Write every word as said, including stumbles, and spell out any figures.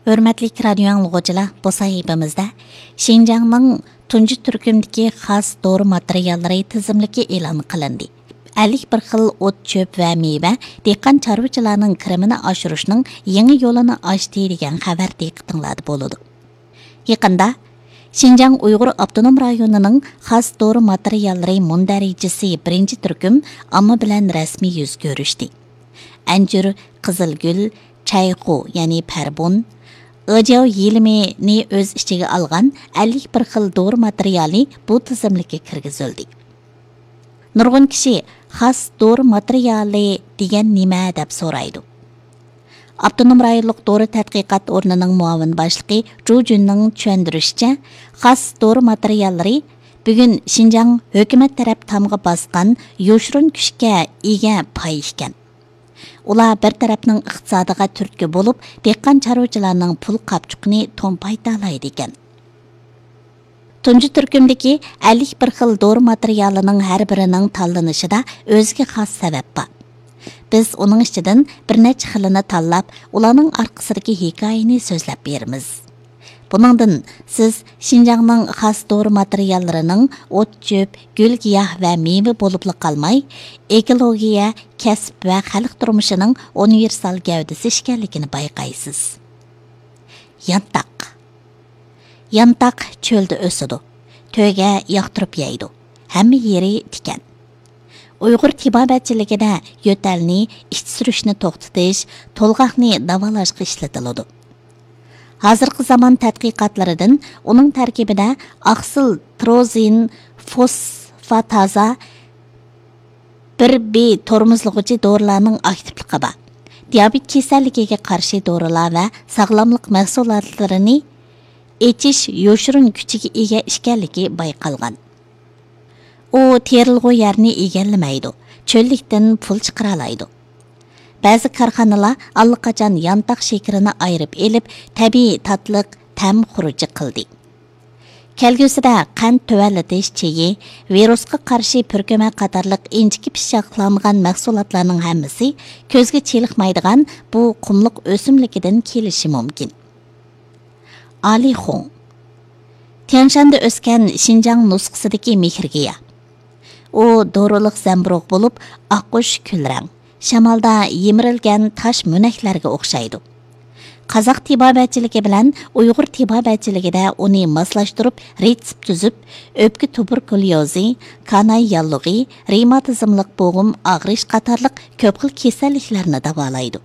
ھۆرمەتلىك رادىيو ئاڭلىغۇچىلار، بۇ سەھىپىمىزدە شىنجاڭنىڭ تۇنجى تۈركۈمدىكى خاس دورا ماتېرىياللىرى تىزىملىكى ئېلان قىلىندى. ئەللىك بىر خىل ئوت-چۆپ ۋە مېۋە دېھقان چارۋىچىلارنىڭ كىرىمىنى ئاشۇرۇشنىڭ يېڭى يولىنى ئاچتى دېگەن خەۋەر دىققىتىڭلاردا بولىدۇ. يېقىندا شىنجاڭ ئۇيغۇر ئاپتونوم رايونىنىڭ خاس دورا ماتېرىياللىرى مۇندەرىجىسى بىرىنچى تۈركۈم ئامما بىلەن رەسمىي يۈز كۆرۈشتى. ئەنجۈر، قىزىلگۈل، چەيخۇ، يەنى پەربۇن، ئېجياۋ يېلىمىنى ئۆز ئىچىگە ئالغان ئەللىك بىر خىل دورا ماتېرىيالى بۇ تىزىملىككە كىرگۈزۈلدى. نۇرغۇن كىشى خاس دورا ماتېرىيالى دېگەن نېمە دەپ سورايدۇ. ئاپتونوم رايونلۇق دورا تەتقىقات ئورنىنىڭ مۇئاۋىن باشلىقى جۇ جۈننىڭ چۈشەندۈرۈشىچە، خاس دورا ماتېرىياللىرى بۈگۈن شىنجاڭ ھۆكۈمەت تەرەپ تامغا باسقان يوشۇرۇن كۈچكە ئىگە پاي ئىكەن. ئۇلار بىر تەرەپنىڭ ئىقتىسادىغا تۈرتكە بولۇپ، دېھقان چارۋىچىلارنىڭ پۇل قاپچۇقىنى تومپايتالايدىكەن. تۇنجى تۈركۈمدىكى ئەللىك بىر خىل دورا ماتېرىيالىنىڭ ھەر بىرىنىڭ تاللىنىشىدا ئۆزىگە خاس سەۋەب بار. بىز ئۇنىڭ ئىچىدىن بىر نەچچە خىلىنى تاللاپ، ئۇلارنىڭ ئارقىسىدىكى ھېكايىنى سۆزلەپ بېرىمىز. بۇنىڭدىن سىز شىنجاڭنىڭ خاس دورا ماتېرىياللىرىنىڭ ئوت-چۆپ، گۈل-گىياھ ۋە مېۋە بولۇپلا قالماي، ئېكولوگىيە، كەسىپ ۋە خەلق تۇرمۇشىنىڭ ئۇنىۋېرسال گەۋدىسى ئىكەنلىكىنى بايقايسىز. يانتاق. يانتاق چۆلدە ئۆسىدۇ. تۆگە ياقتۇرۇپ يەيدۇ. ھەممە يېرى تىكەن. ئۇيغۇر تېبابەتچىلىكىدە يۆتەلنى، ئىچ سۈرۈشنى توختىتىش، تولغاقنى داۋالاشقا ئىشلىتىلىدۇ. ھازىرقى زامان تەتقىقاتلىرىدىن ئۇنىڭ تەركىبىدە ئاقسىل تروزىن فوسفاتازا بىر بى تورمۇزلىغۇچى دورىلارنىڭ ئاكتىپلىقى بار. دىيابېت كېسەللىكىگە قارشى دورىلار ۋە ساغلاملىق مەھسۇلاتلىرىنى ئېچىش يوشۇرۇن كۈچىگە ئىگە ئىكەنلىكى بايقالغان. ئۇ تېرىلغۇ يەرنى ئىگىلىمەيدۇ، چۆللۈكتىن پۇل چىقىرالايدۇ. بەزى كارخانىلار ئاللىقاچان يانتاق شېكىرىنى ئايرىپ ئېلىپ، تەبىئىي تاتلىق تەم خۇرۇجى قىلدى. كەلگۈسىدە قەنت تۆۋەنلىتىش چېيى، ۋىرۇسقا قارشى پۈركۈمە قاتارلىق ئىنچىكە پىششاقلانغان مەھسۇلاتلارنىڭ ھەممىسى كۆزگە چېلىقمايدىغان بۇ قۇملۇق ئۆسۈملۈكىدىن كېلىشى مۇمكىن. ئالىخۇڭ. تيەنشاندا ئۆسكەن شىنجاڭ نۇسخىسىدىكى مېھىرگىياھ. ئۇ دورىلىق زەمبۇرۇغ بولۇپ، ئاققۇش كۈلرەڭ، شامالدا يىمىرىلگەن تاش مۆنەكلەرگە ئوخشايدۇ. قازاق تېبابەتچىلىكى بىلەن ئۇيغۇر تېبابەتچىلىكىدە ئۇنى ماسلاشتۇرۇپ، رېتسېپ تۈزۈپ، ئۆپكە تۇبېركۇليوزى، كاناي ياللۇغى، رېماتىزملىق بوغۇم ئاغرىش قاتارلىق كۆپ خىل كېسەللىكلەرنى داۋالايدۇ.